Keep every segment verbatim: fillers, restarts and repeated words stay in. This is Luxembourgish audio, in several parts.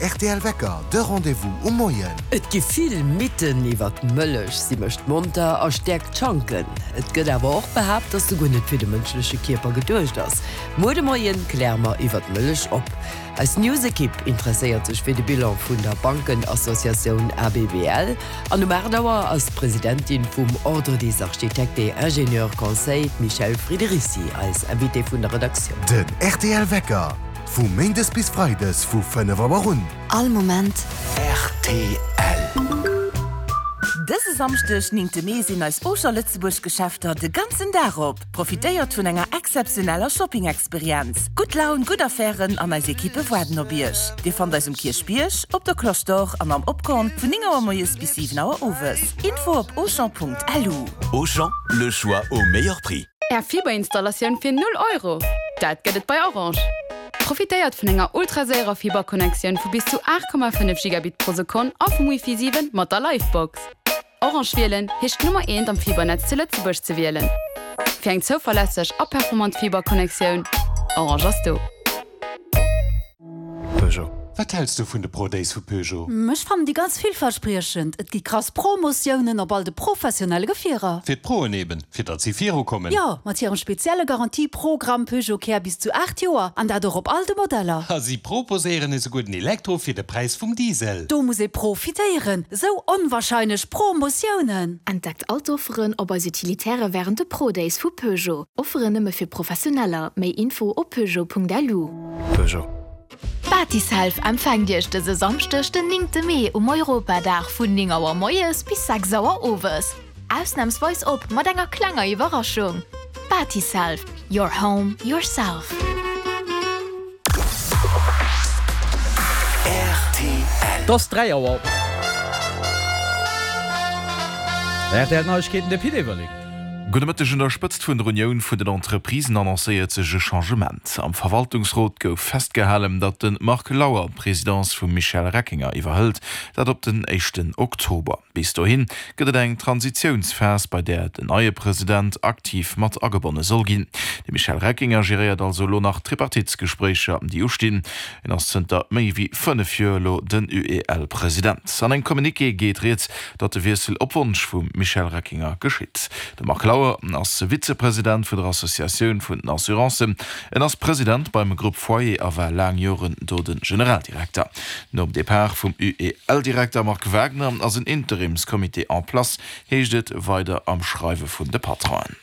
rtl Wecker, de Rendez-vous um Moien. Et gi vill Mythen iwwer d'Mëllech, si mécht monter a stäerkt d'Schanken. Et gëtt awer och behaapt, dass se guer net fir de mënschleche Kierper geduecht ass. Muer de Moien kläre mer iwwer d'Mëllech op. Eis News-Ekipp interesséiert sech fir de Bilan vun der Bankenassociatioun ABBL. An um aacht Auer ass d'Presidentin vum Ordre des Architectes et Ingénieurs Conseils, d'Michèle Friederici, eis Invitée vun der Redaktioun. Den rtl Wecker, vu Méindes bis Freides vu fënnef Auer un. All Moment. Rtl. Dëse Samschdeg, néngte Mee, sinn eis Auchan Lëtzebuerg Geschäfter de ganzen Dag op. Profitéiert vun enger exzeptioneller Shopping-Experienz. Gutt Laun, gutt Affären an eis Ekippe waarden op Iech. Dir fannt eis um Kierchbierg, op der Cloche d'Or an am Opkorn vun néng Auer moies bis siwen Auer owes. Info op auchan Punkt lu. Auchan, le choix au meilleur prix. Är Fiberinstallatioun fir null Euro! Dat gëtt et bei Orange. Profitéiert vun enger ultraséierer Fiberconnectioun vu bis zu aacht Komma fënnef Gigabit pro Sekonn a vum Wi-Fi siwen mat der Livebox. Orange wielen heescht d'Nummer eent am Fibernetz zu Lëtzebuerg ze wielen. Fir eng zouverlässeg a performant Fiberconnectioun, Orange ass do. Peugeot. Wat häls du vun de Pro Days vu Peugeot? Ech fannen déi ganz villverspriechend. Et gi krass Promotiounen op all de professionelle Gefierer. Fir d'Proen eben, fir datt si virukommen. Jo, mat hirem spezielle Garantieprogramm Peugeot Care bis zu aacht Joer an dat och op all de Modeller. A si proposéieren esouguer den Elektro fir de Präis vum Diesel. Do muss ee profitéieren. Sou onwarscheinlech Promotiounen. Entdeckt all d'Offeren op eis Utilitäre wärend de Pro Days vu Peugeot. Offeren nëmme fir Professioneller. Méi Info op peugeot Punkt lu. Peugeot. Batiself empfänkt Iech dëse Samschdeg den néngte Mee um Europadag vun néng Auer moies bis sechs Auer owes. Ausnamsweis op mat enger klenger Iwwerraschung. Batiself, your home, yourself. R T L. Et ass dräi Auer. R T L Neiegkeeten, de Pit Everling. Gudde Mëtteg. Un der Spëtzt vun der Unioun vun den Entreprisen annoncéiert sech e Changement. Am Verwaltungsrot gouf festgehalen, datt de Marc Lauer d'Presidence vum Michel Reckinger iwwerhëlt, dat op den éischten Oktober. Bis dohi gëtt et eng Transitiounsphas, bei där den neie President aktiv mat agebonne soll ginn. De Michel Reckinger geréiert also elo nach d'Tripartitsgespréicher, déi ustinn. En ass zënter méi wéi fënnef Joer elo den U E L-President. An engem Communiqué geet rieds, datt de Wiessel op Wonsch vum Michel Reckinger geschitt. De Marc Lauer ass Vizepresident vun der Associatioun vun den Assurancen. En ass President beim Grupp Foyer a war laang Joren do de Generaldirekter. Nom Depart vum U E L-Direkter Marc Wagner ass en Interimscomité en place, heescht et weider am Schreiwe vun de Patronen.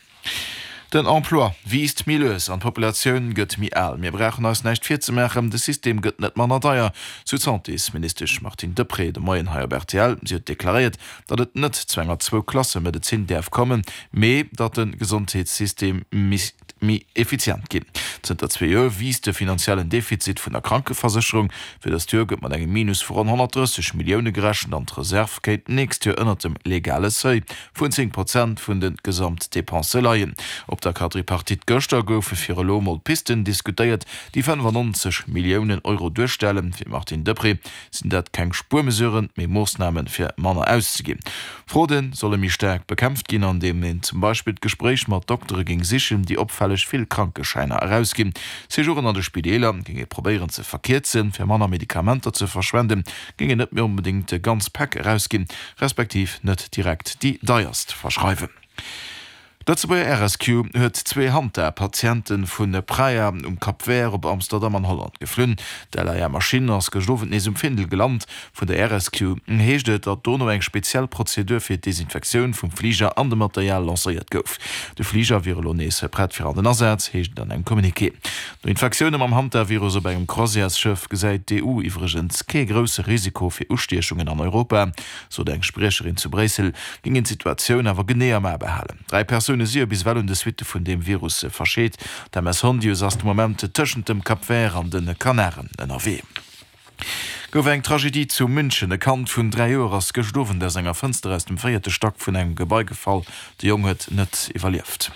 Den Emploi wiisst méi lues an d'Populatioun gëtt méi al. Mir brauchen eis näischt virzemaachen, de System gëtt net manner deier, sou d'Santésministesch Martine Deprez de Moien hei op R T L. Si huet deklaréiert, datt et net zu enger Zwou-Klasse-Medezin däerf kommen, mee datt de Gesondheetssystem misst méi effizient ginn. Zënter zwee Joer wiisst de finanziellen Defizit vun der Krankeversécherung. Fir dëst Joer gëtt mat engem Minus vu ronn honnertdrësseg Millioune gerechent an d'Reserv kéint d'nächst Joer ënnert dem legale Seuil vun zéng Prozent vun de Gesamtdepensë leien. Op der Quadripartite gëschter goufe fir elo mol Pisten diskutéiert, déi fënnefannonzeg Milliounen Euro duerstellen. Fir d'Martine Deprez sinn dat keng Spuermesuren, mee Moossname fir manner auszeginn. Fraude solle méi staark bekämpft ginn, andeem een zum Beispill d'Gespréich mat Doktere géing sichen, déi opfälleg vill Krankeschäiner erausginn. Séjouren an de Spideeler géing ee probéieren ze verkierzen, fir manner Medikamenter ze verschwenden, géing een net méi onbedéngt ganz Päck erausginn, respektiv net direkt déi deierst verschreiwen. D'Lëtzebuerger Air Rescue huet zwee Hanta-Patiente vu Praia um Cap Vert op Amsterdam an Holland geflunn. D'L A R-Maschinn ass gëscht Owend nees um Findel gelant. Vun der Air Rescue heescht et, datt dono eng speziell Prozedur fir d'Desinfektioun vum Fliger an dem Material lancéiert gouf. De Fliger wier elo nees prett fir an den Asaz, heescht et an engem Communiqué. No Infektioune mam Hantavirus op engem Croisièresschëff gesäit d'E U iwwregens kee grousse Risiko fir Ustiechungen an Europa, sot eng Spriecherin zu Bréissel, géing een d'Situatioun awer genee am A behalen. Dräi Persoune si jo bis ewell un de Suitte vun deem Virus verscheet. D'M S Hondius ass de Moment tëschent dem Cap Vert an de Kanaren ënnerwee. Gouf eng Tragedie zu München. E Kand vun dräi Joer ass gëscht Owend aus enger Fënster aus dem véierte Stack vun engem Gebai gefall. De Jong huet net iwwerlieft.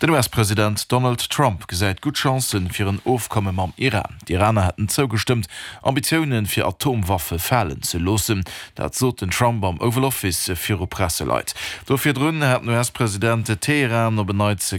Den U S-President Donald Trump gesäit gutt Chancen fir en Ofkomme mam Iran. D'Iraner hätten zougestëmmt, Ambitioune fir Atomwaffe falen ze loossen. Dat sot den Trump am Oval Office viru Presseleit. Do virdrun hat den U S-President Teheran op en Neits